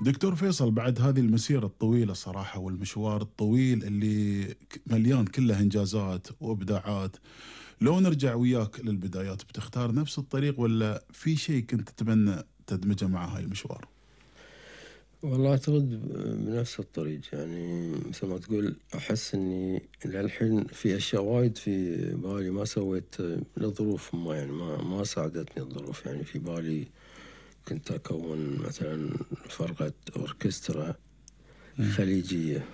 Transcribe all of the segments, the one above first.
دكتور فيصل، بعد هذه المسيرة الطويلة صراحة والمشوار الطويل اللي مليان كله إنجازات وإبداعات، لو نرجع وياك للبدايات بتختار نفس الطريق ولا في شيء كنت تتمنى تدمجه مع هاي المشوار؟ والله أعتقد بنفس الطريق، يعني مثل ما تقول أحس إني للحين في أشياء وايد في بالي ما سويت لظروف ما، يعني ما ساعدتني الظروف. يعني في بالي كنت أكون مثلا فرقة أوركسترا خليجية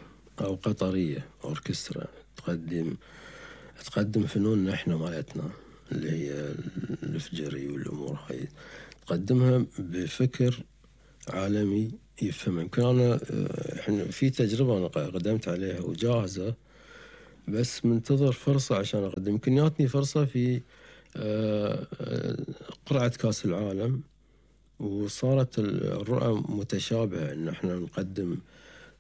أو قطرية أوركسترا تقدم فنوننا إحنا مالتنا اللي هي الفجري والأمور هاي، تقدمها بفكر عالمي يفهم. يمكن أنا إحنا في تجربة أنا قدمت عليها وجاهزة، بس منتظر فرصة عشان أقدم. يمكن جاتني فرصة في قرعة كأس العالم، وصارت الرؤى متشابهة إن إحنا نقدم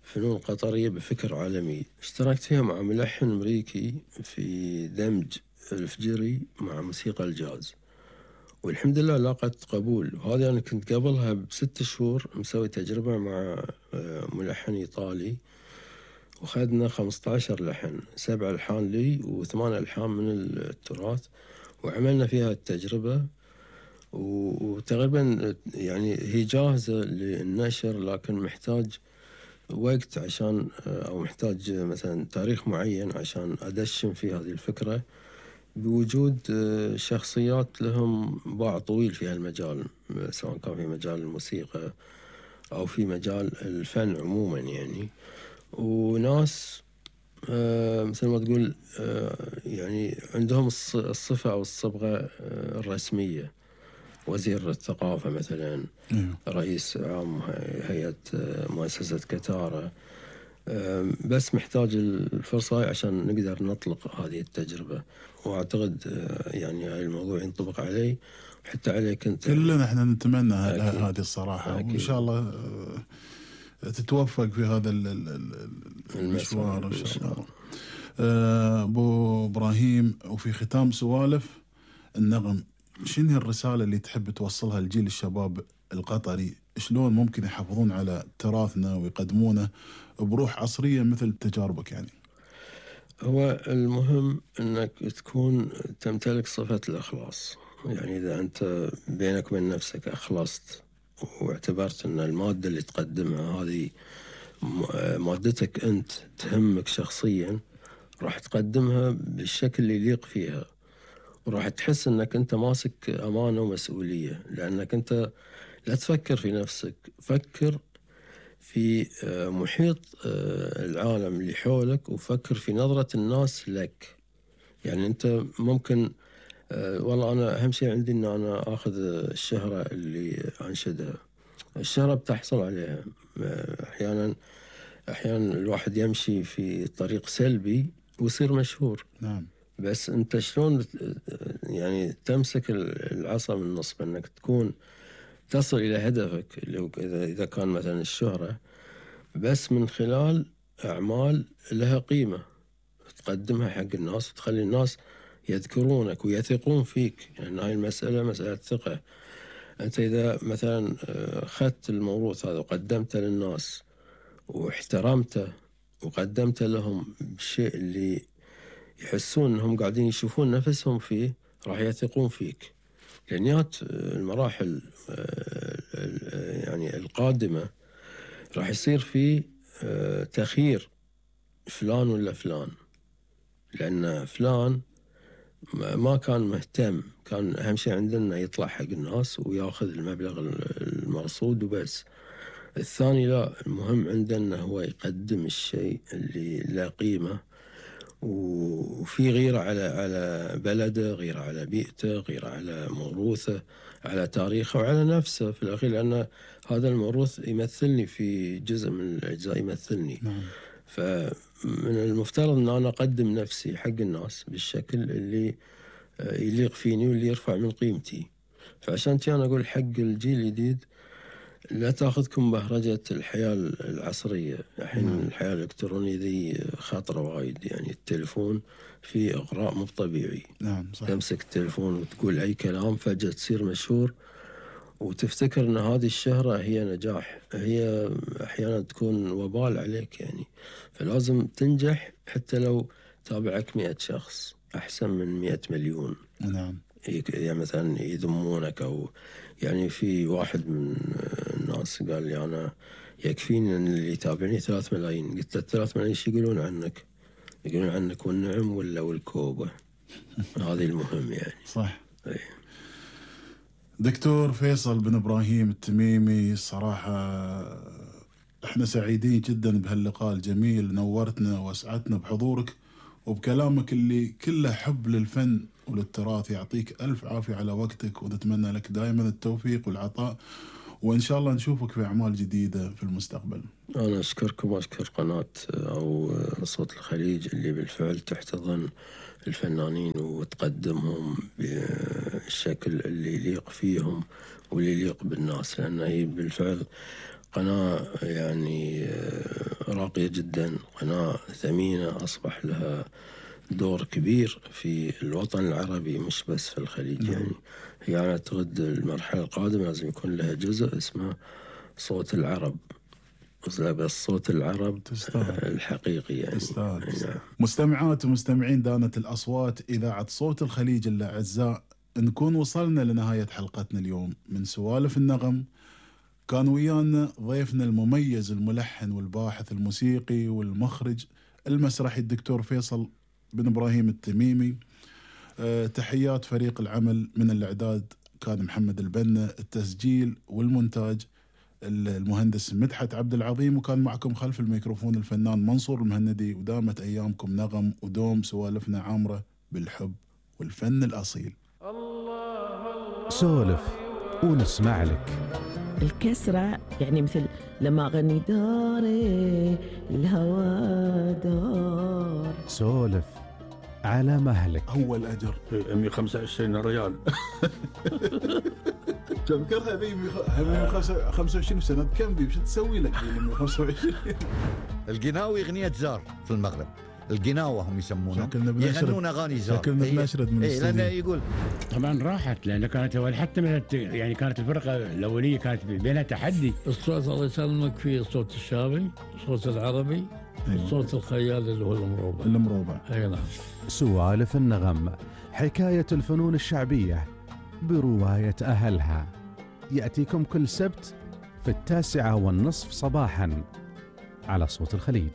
فنون قطرية بفكر عالمي. اشتركت فيها مع ملحن أمريكي في دمج الفجري مع موسيقى الجاز، والحمد لله لاقت قبول. وهذا أنا كنت قبلها ب6 شهور مسوي تجربة مع ملحن إيطالي، وخدنا 15 لحن، 7 ألحان لي و8 ألحان من التراث، وعملنا فيها التجربة. وتقريبا يعني هي جاهزة للنشر، لكن محتاج وقت عشان، أو محتاج مثلا تاريخ معين عشان أدشن في هذه الفكرة، بوجود شخصيات لهم باع طويل في هالمجال، سواء كان في مجال الموسيقى أو في مجال الفن عموما يعني. وناس مثل ما تقول يعني عندهم الصفة أو الصبغة الرسمية، وزير الثقافة مثلا، رئيس عام هيئة مؤسسة كتارة. بس محتاج الفرصة عشان نقدر نطلق هذه التجربة. وأعتقد يعني هاي الموضوع ينطبق علي وحتى عليك أنت. كلنا احنا نتمنى هذه الصراحة، وإن شاء الله تتوفق في هذا المشوار إن شاء الله. أبو إبراهيم، وفي ختام سوالف النغم، شنو الرسالة اللي تحب توصلها لجيل الشباب القطري؟ شلون ممكن يحافظون على تراثنا ويقدمونه بروح عصرية مثل تجاربك يعني؟ هو المهم أنك تكون تمتلك صفة الإخلاص. يعني إذا أنت بينك وبين نفسك أخلصت واعتبرت أن المادة اللي تقدمها هذه مادتك أنت تهمك شخصيا، راح تقدمها بالشكل اللي يليق فيها، وراح تحس أنك أنت ماسك أمانة ومسؤولية. لأنك أنت لا تفكر في نفسك، فكر في محيط العالم اللي حولك، وفكر في نظرة الناس لك. يعني أنت ممكن والله أنا أهم شيء عندي أن أنا أخذ الشهرة اللي أنشدها. الشهرة بتحصل عليها أحيانا الواحد يمشي في طريق سلبي ويصير مشهور. نعم. بس أنت شلون يعني تمسك العصا من النص، بأنك تكون تصل إلى هدفك اللي إذا كان مثلا الشهرة، بس من خلال أعمال لها قيمة تقدمها حق الناس وتخلي الناس يذكرونك ويثقون فيك. يعني هاي المسألة مسألة ثقة. أنت إذا مثلا أخذت الموروث هذا وقدمته للناس واحترمته وقدمته لهم بشيء اللي يحسون أنهم قاعدين يشوفون نفسهم فيه، راح يثقون فيك. لأنيات المراحل يعني القادمة راح يصير في تخيير فلان ولا فلان، لأن فلان ما كان مهتم، كان أهم شيء عندنا يطلع حق الناس وياخذ المبلغ المرصود وبس. الثاني لا، المهم عندنا هو يقدم الشيء اللي له قيمة، وفي غيرة على بلده، غيرة على بيئته، غيرة على موروثه، على تاريخه وعلى نفسه في الأخير، لأن هذا الموروث يمثلني في جزء من الأجزاء، يمثلني. فمن المفترض أن أنا أقدم نفسي حق الناس بالشكل اللي يليق فيني واللي يرفع من قيمتي. فعشان أنا أقول حق الجيل الجديد لا تأخذكم بهرجة الحياة العصرية. الحين الحياة الإلكترونية ذي خطرة وايد، يعني التليفون فيه إغراء مو طبيعي. نعم صحيح. تمسك التليفون وتقول أي كلام فجأة تصير مشهور، وتفتكر أن هذه الشهرة هي نجاح، هي أحيانا تكون وبال عليك يعني. فلازم تنجح حتى لو تابعك 100 شخص، أحسن من 100 مليون. نعم. يعني مثلا يذمونك، أو يعني في واحد من الناس قال لي أنا يكفيني أن اللي يتابعني 3 ملايين. قلت له 3 ملايين شو يقولون عنك؟ يقولون عنك والنعم ولا والكوبة. هذه المهم يعني. صح. أي. دكتور فيصل بن إبراهيم التميمي، الصراحة احنا سعيدين جدا بهاللقاء الجميل، نورتنا واسعدتنا بحضورك وبكلامك اللي كله حب للفن وللتراث. يعطيك ألف عافية على وقتك، ونتمنى لك دائما التوفيق والعطاء، وإن شاء الله نشوفك في أعمال جديدة في المستقبل. أنا أشكركم وأشكر قناة أو صوت الخليج اللي بالفعل تحتضن الفنانين وتقدمهم بالشكل اللي يليق فيهم واللي يليق بالناس، لأن هي بالفعل قناة يعني راقية جدا، قناة ثمينة، أصبح لها دور كبير في الوطن العربي مش بس في الخليج. يعني هي أنا أعتقد المرحلة القادمة لازم يكون لها جزء اسمه صوت العرب، بس صوت العرب الحقيقي يعني. تستاهل. مستمعات ومستمعين دانة الأصوات إذاعة صوت الخليج الأعزاء، نكون وصلنا لنهاية حلقتنا اليوم من سوالف النغم. كان ويانا ضيفنا المميز الملحن والباحث الموسيقي والمخرج المسرحي الدكتور فيصل بن إبراهيم التميمي. تحيات فريق العمل، من الإعداد كان محمد البنا، التسجيل والمونتاج المهندس مدحت عبد العظيم، وكان معكم خلف الميكروفون الفنان منصور المهندي. ودامت أيامكم نغم، ودوم سوالفنا عامرة بالحب والفن الأصيل. سولف ونسمع لك. الكسرة يعني مثل لما أغني داري الهوى دار. سولف على مهلك. هو الأجر 125 ريال. تذكرها ذي 25 سنة كم بي؟ وش تسوي لك 125؟ القناوي أغنية زار في المغرب، القناوة هم يسمونها، يغنون أغاني زار. شكلنا بنشرد من الاستوديو. لأنه يقول طبعا راحت، لأن كانت حتى يعني كانت الفرقة الأولية كانت بينها تحدي. الصوت الله يسلمك فيه الصوت الشامي، الصوت العربي، الصوت الخيال اللي هو المروبع. أي نعم. سوالف النغم، حكاية الفنون الشعبية برواية أهلها، يأتيكم كل سبت في 9:30 صباحا على صوت الخليج.